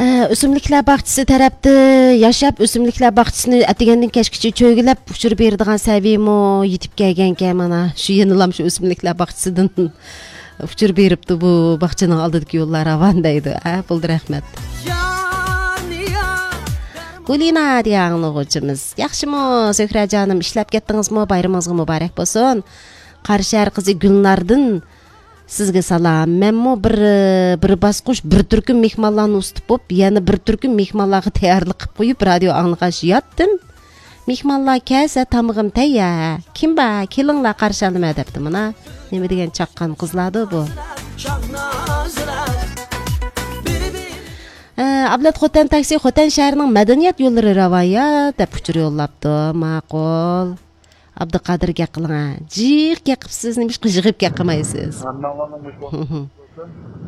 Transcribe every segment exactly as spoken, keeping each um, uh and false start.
ئە، ئۆسۈملۈكلەر باغچىسى تەرەپتە ياشاپ، ئۆسۈملۈكلەر باغچىسىنى ئەتىگەندىن كەچكىچە چۆگىلەپ ئۇچۇر بېرىدىغان سەۋىيمۇ يېتىپ كەلگەنكەن مانا. شۇ يەنىلام شۇ ئۆسۈملۈكلەر باغچىسىدىن ئۇچۇر بېرىپتۇ، بۇ باغچىنىڭ ئالدىدىكى يوللار راۋان دەيدۇ. ھە، بولدى، رەھمەت. گۇلىنا دېگەن ئاڭلىغۇچىمىز. ياخشىمۇ، زۆھرەجانىم، ئىشلەپ كەتتىڭىزمۇ؟ بايرىمىڭىزغا مۇبارەك بولسۇن. قاراشەھەر قىزى گۈلناردىن سىزگە سالام. مەنمۇ بىر، بىر باسقۇچ، بىر تۈركۈم مېھمانلارنى ئۇزىتىپ بولۇپ، يەنە بىر تۈركۈم مېھمانلارغا تەييارلىق قىلىپ قويۇپ، رادىيو ئاڭلىغاچ ياتتىم. مېھمانلار كەلسە، تامىقىم تەييار. كىم بار؟ كېلىڭلار، قارشى ئالىمەن دەپتۇ مانا. نېمە دېگەن چاققان قىزلاردۇ بۇ. ئە، ئابلەت خوتەن تاكسى، خوتەن شەھىرىنىڭ مەدەنىيەت يوللىرى راۋايە دەپ ئۇچۇر يوللاپتۇ. ماقۇل. ئابدۇقادىر، گەپ قىلىڭ ھە. جىق گەپ قىپسىز، نېمىشقا يىغىپ گەپ قىلمايسىز؟ ھەممىڭلارنىڭ مۇشۇ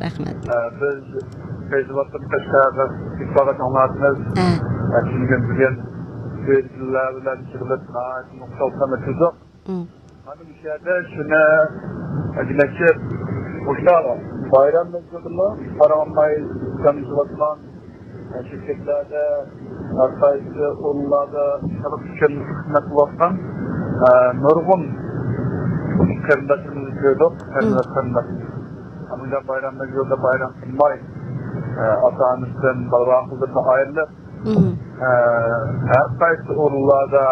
رەھمەت. ئە، بىز پەيزىۋاتتىن تاشقارىدا ئىپادە ئاڭلاۋاتىمىز. ھە. ئە، چۈنكى بۈگۈن بىرلەر بىلەن يىغىلىپ ناھايىتى نۇقتىلىق ئۆتكۈزدۇق. مم. مانا مۇشۇ يەردە شۇنى دېمەكچى، مۇشۇ بايرام مەزگىلىدىمۇ قارىغانماي جان ئېزىۋاتقان شىركەتلەردە، ھەر قايسى ئورۇنلاردا خەلق ئۈچۈن خىزمەت قىلىۋاتقان، ئە، نۇرغۇن قېرىنداشلىرىمىزنى كۆردۇق. مم. قېرىنداش، قېرىنداش. ئەمما بايرام مەزگىلىدە بايرام قىلماي، ئە، ئاتا-ئانىسىدىن، بالا-باققىلىرىدىن ئايرىلىپ، مم. ئە، ھەر قايسى ئورۇنلاردا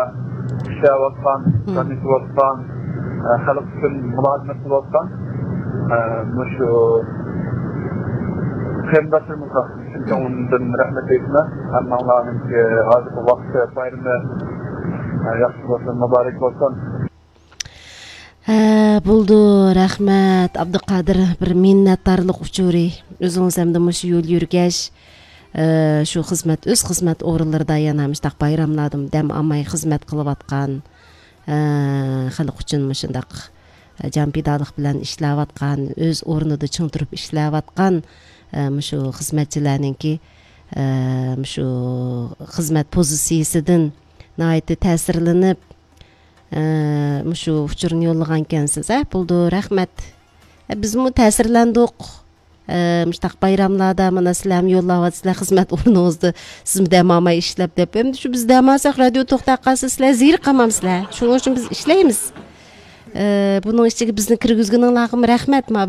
ئىشلەۋاتقان، مم. خىزمەت قىلىۋاتقان، ئە، خەلق ئۈچۈن مۇلازىمەت قىلىۋاتقان، ئە، مۇشۇ قېرىنداشلىرىمىزغا چىن كۆڭلۈمدىن رەھمەت ئېيتىمەن. ھەممىڭلارنىڭكى ھازىرقى ۋاقىت بايرىمى، ئە، ياخشى بولسۇن، مۇبارەك بولسۇن. ھە، بولدى، رەھمەت، ئابدۇقادىر، بىر مىننەتدارلىق ئۇچۇرى. ئۆزىڭىز ھەمدە مۇشۇ يول يۈرگەچ، ئە، شۇ خىزمەت، ئۆز خىزمەت ئورۇنلىرىدا يەنە مۇشۇنداق بايراملاردىمۇ دەم ئالماي خىزمەت قىلىۋاتقان، ئە، خەلق ئۈچۈن مۇشۇنداق، ئە، جان پىدالىق بىلەن ئىشلەۋاتقان، ئۆز ئورنىدا چىڭ تۇرۇپ ئىشلەۋاتقان، ئە، مۇشۇ خىزمەتچىلەرنىڭكى، ئە، مۇشۇ خىزمەت پوزىتسىيىسىدىن ناھايىتى تەسىرلىنىپ، ئە، مۇشۇ ئۇچۇرنى يوللىغانكەنسىز، ھە، بولدى، رەھمەت. ئە، بىزمۇ تەسىرلەندۇق. ئە، مۇشۇنداق بايراملاردا مانا سىلەرمۇ يوللاۋاتىسىلەر خىزمەت ئورنىڭىزدا، سىزمۇ دەم ئالماي ئىشلەپ دەپ. ئەمدى شۇ بىز دەم ئالساق، رادىيو توختاپ قالسا، سىلەر زېرىكىپ قالمامسىلەر؟ شۇنىڭ ئۈچۈن بىز ئىشلەيمىز. ئە، بۇنىڭ ئىچىگە بىزنى كىرگۈزگىنىڭلارغىمۇ رەھمەت. مانا